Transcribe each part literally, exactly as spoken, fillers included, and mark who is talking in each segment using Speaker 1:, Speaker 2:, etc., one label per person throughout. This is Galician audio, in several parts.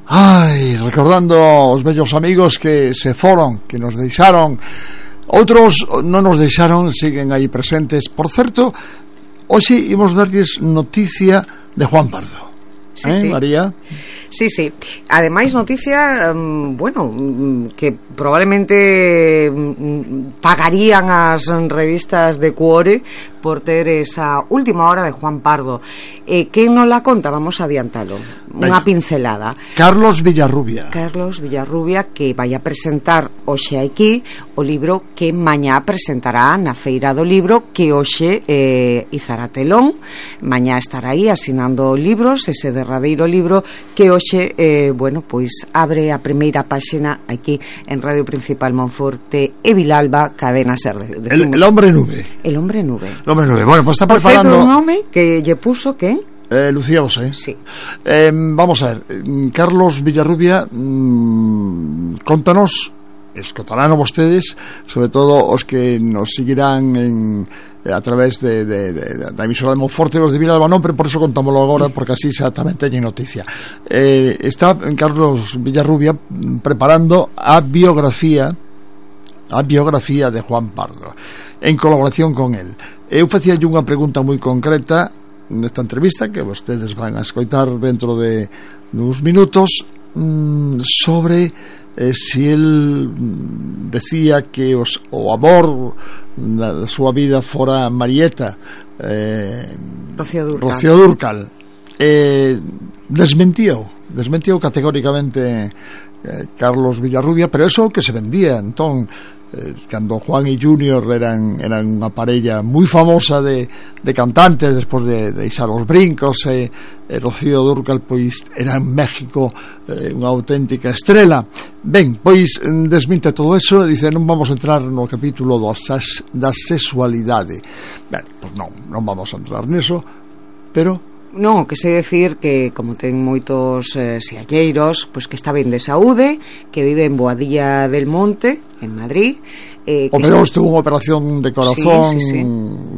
Speaker 1: Ai, recordando os vellos amigos que se foron, que nos deixaron. Outros non nos deixaron, siguen aí presentes. Por certo, hoxe imos darlles noticia de Juan Pardo.
Speaker 2: Sí,
Speaker 1: eh,
Speaker 2: sí.
Speaker 1: María?
Speaker 2: Sí, sí. Ademais, noticia, um, bueno, um, que probablemente um, pagarían as revistas de Cuore por ter esa última hora de Juan Pardo. Eh, quen non la conta? Vamos a adiantalo. Unha pincelada.
Speaker 1: Carlos Villarrubia.
Speaker 2: Carlos Villarrubia, que vai a presentar hoxe aquí o libro que mañá presentará na Feira do Libro, que hoxe eh, izará telón. Mañá estará aí asinando libros, ese derradeiro libro que hoxe, eh, bueno, pois abre a primeira páxina aquí en Radio Principal Monforte e Vilalba, Cadena Ser. De,
Speaker 1: el, el hombre nube.
Speaker 2: El hombre nube.
Speaker 1: El hombre nube. Bueno, pues está
Speaker 2: Por
Speaker 1: preparando...
Speaker 2: certo, un nome que lle puso, quen?
Speaker 1: Eh, Lucía Bosé.
Speaker 2: Sí.
Speaker 1: Eh, vamos a ver, Carlos Villarrubia, mmm, contanos, escotarán a vostedes, sobre todo os que nos seguirán en, a través de, de, de, da emisora de Monforte, os de Vilalba non, pero por eso contámoslo agora, porque así xa tamén teñen noticia. Eh, está Carlos Villarrubia preparando a biografía a biografía de Juan Pardo, en colaboración con él. Eu facía unha pregunta moi concreta nesta entrevista que vostedes van a escoitar dentro de uns minutos, mmm, sobre eh, si él decía que os, o amor da, da súa vida fora Marieta, eh,
Speaker 2: Rocío Dúrcal,
Speaker 1: Rocío Dúrcal. Eh, desmentiu desmentiu categóricamente eh, Carlos Villarrubia, pero eso que se vendía entón, eh, cando Juan y Junior eran eran unha parella moi famosa de, de cantantes despois de deixar os brincos, e, e Rocío Dúrcal pois era en México eh, unha auténtica estrela. Ben, pois desminte todo eso e dice non vamos a entrar no capítulo dos, da sexualidade. Ben, pois non, non vamos a entrar neso, pero
Speaker 2: non, que sei decir que como ten moitos eh, sialleiros, pois que está ben de saúde, que vive en Boadilla del Monte, en Madrid. Eh,
Speaker 1: o mellor estuvo unha operación de corazón, sí, sí, sí,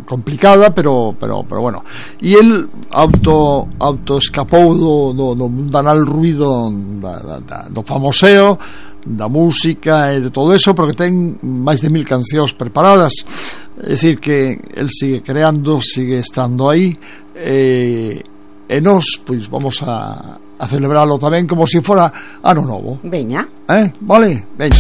Speaker 1: complicada, pero pero pero bueno. E el auto auto escapou do, do, do mundanal ruido da, da, da, do famoseo, da música e de todo eso, porque ten máis de mil cancións preparadas. É dicir que el sigue creando, sigue estando aí, e, e nós pois vamos a, a celebralo tamén como se si fora ano novo.
Speaker 2: Veña.
Speaker 1: Eh, vale, veña.